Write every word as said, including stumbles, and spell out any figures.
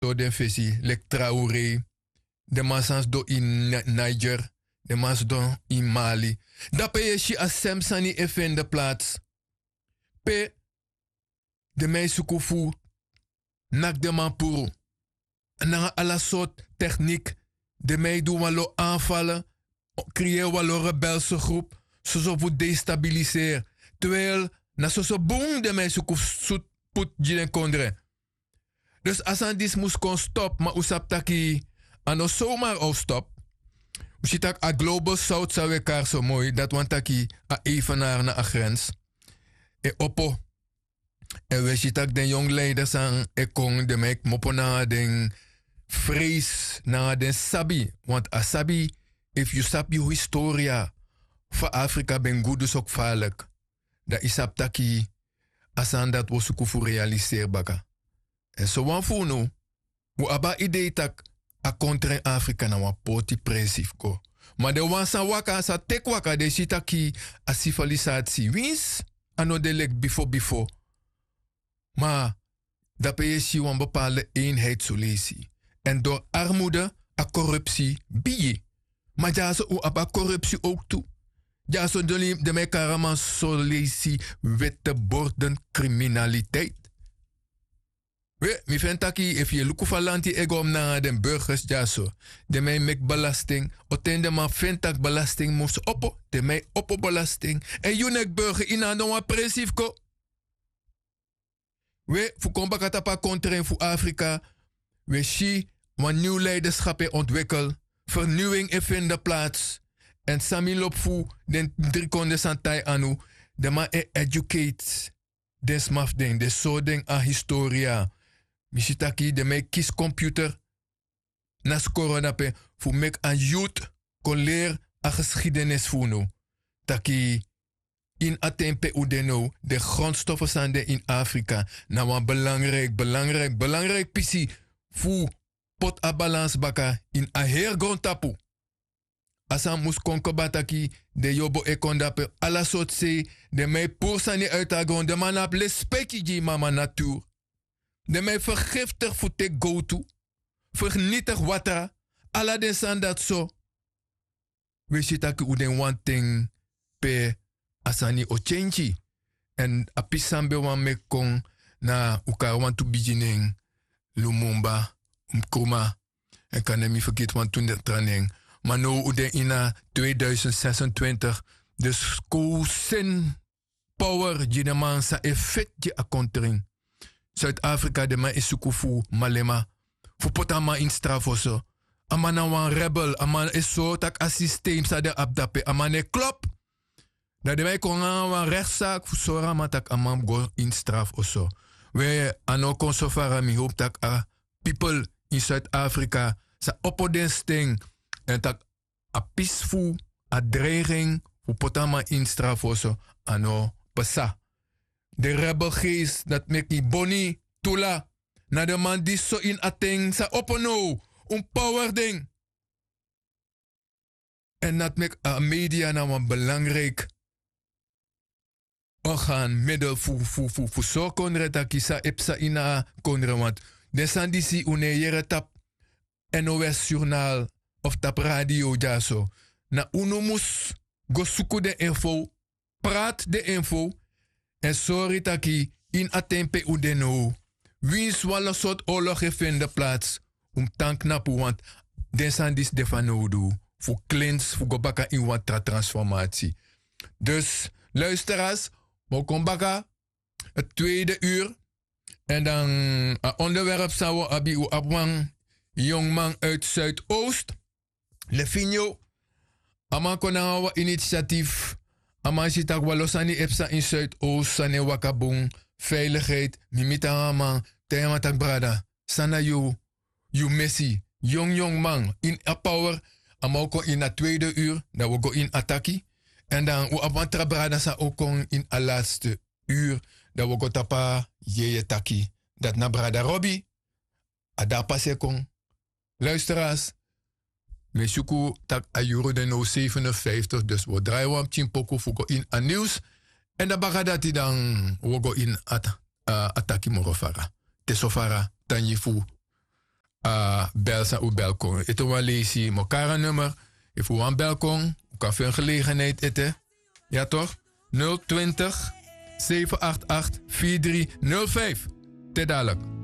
sori den fesi leki traurei. Den man san sidon ini niger. Den man sidon ini mali. Dape yu e si a sem sani e fende plats. Pe den man e suku fu naki den man puru nanga ala sortu teknik. Den man e du wan lo anfale. Kriyeri wan lo rebelse grupu soso fu destabiliseri. Twel na soso bun den man e suku fu sutu putu gi den kondre. Dus a sani disi mus kon stopu ma un sabi taki a no somar o stopu. Un si tak' a global south san un e kari so moi dati wani taki a evenari na a grens e opo. Èn un e si tak' den yongu leider san e kon den man e kmopo nanga den freisi nanga den sabi. Want a sabi efu yu sabi yu historia fa afrika ben gudu so kfalik, dan yu sabi taki a sani dati wi o suku fu realiseri baka. Èn sowan fu unu un abi a idei tak' a kontra ini afrika na wan poti presi fu go. Ma den wan san waka san teki waka den e si taki a sivilisatisi winsi a no de leki bifo bifo. Ma dape yu e si wan bepalde einheit soleisi. Èn dori armude a korupsi bigi. Ma dyaso un abi a korupsi owk tu. Dyaso den man e kari a man soleisi wete borden kriminaliteit. We mi feni taki efu yu e luku fa lanti e go nanga den burgers dyaso, den man e meki belasting. Oten den man feni tak' belasting mus opo. Den man e opo belasting èn yu neki burger yu na no wan presi fu kon. We fu kon baka tapu a kontren fu afrika. Wi e si wan niw leiderskap e ontwikel. Ferniwing e fende plats. Èn san mi lobi fu den dri kondre san tai anu, den man e educate den sma fu den den sori den a historia. Mi si taki den man e kisi komputer na skoro dape fu meki a youth kon leri a geskidenisi fu unu. Taki ini a ten pe un de now den grondstofo san de ini afrika na wan belangriki belangriki belangriki pisi fu poti a balans baka ini a heri grontapu. A sani mus kon kba taki den yobo e kon dape ala sortu sei. Den man e puru sani uiti a gron den man no abi lespeki gi mama naturu. Den man e fergiftigi fu teki gowtu, fernitigi watra, ala den sani dati so. Wi e si taki un de ini wan ten pe a sani o kenki. Èn a pisi san mi ben wani meki kon na un kari wantu bigi nen, lumumba, nkruma, èn kan nen mi fergiti wantu tra nen. Ma now un de ini a tweeduisend sesentwintigi. Dus kon un seni power gi den man san e feti gi a kontrin. Suid-afrika den man e suku fu malema fu poti a man ini strafu oso. A man na wan rebel a man e sori tak' a sistem san den abi dape a man no e klopu. Dan den man e kon nanga wan rektsaki fu sori a man tak' a man mus go ini strafu oso. We a no kon so fara mi howpu tak' a pipel ini suid-afrika sa opo den sten èn tak' a pisi fu a dreiging fu poti a man ini strafu oso. A no psa. Den rebelgeest dati meki boni tula na den man disi so ini a ten sa opo now. Un power den. Èn dati meki a media na wan belangriki organ middel fu fu fu fu sori kondre taki san e psa ini a kondre want den sani disi un no e yere tapu nos journal of tapu radio dyaso. Na unu mus go suku den info, prati den info èn sori taki ini a ten pe un de now winsi wan lo sortu ologu e fende plats. Un mus tan knapu want den sani disi de fanowdu fu klins fu go baka ini wan tra transformatie. Dus luisteras, mi o kon baka a tweede uru. Èn dan a onderwerp san wi o abi wi abi wan yongman uit zuidoost, lefinio. A man kon nanga wan initiatif. A man si tak' wan lo sani e psa ini zuidoost sani e waka bun. Veiligheid mi miti nanga a man. Taigi a man tak' brada, san na yu yu mesi? Yong yong man ini a power. A man o kon ini a tweede uru dan wi o go ini a taki. Èn dan wi abi wan tra brada san o kon ini a latste uru. Dan wi o go tapu a yeye taki. Dati na brada robi. A de a pasi e kon. Luisteras, mi e suku tak' a yuru de now sevenenvijftig dus wi o drai wan pikin poku fu go ini a niws. Èn dan baka dati dan wi o go ini a taki moro fara. Te so fara tangi fu a bel san un bel kon ete wan leisi mokara nummer. Efu wan bel kon un kan fu en gelegenheid ete. Ya tok. Nul twintig zeven acht acht vier drie nul vijf. Te dalik.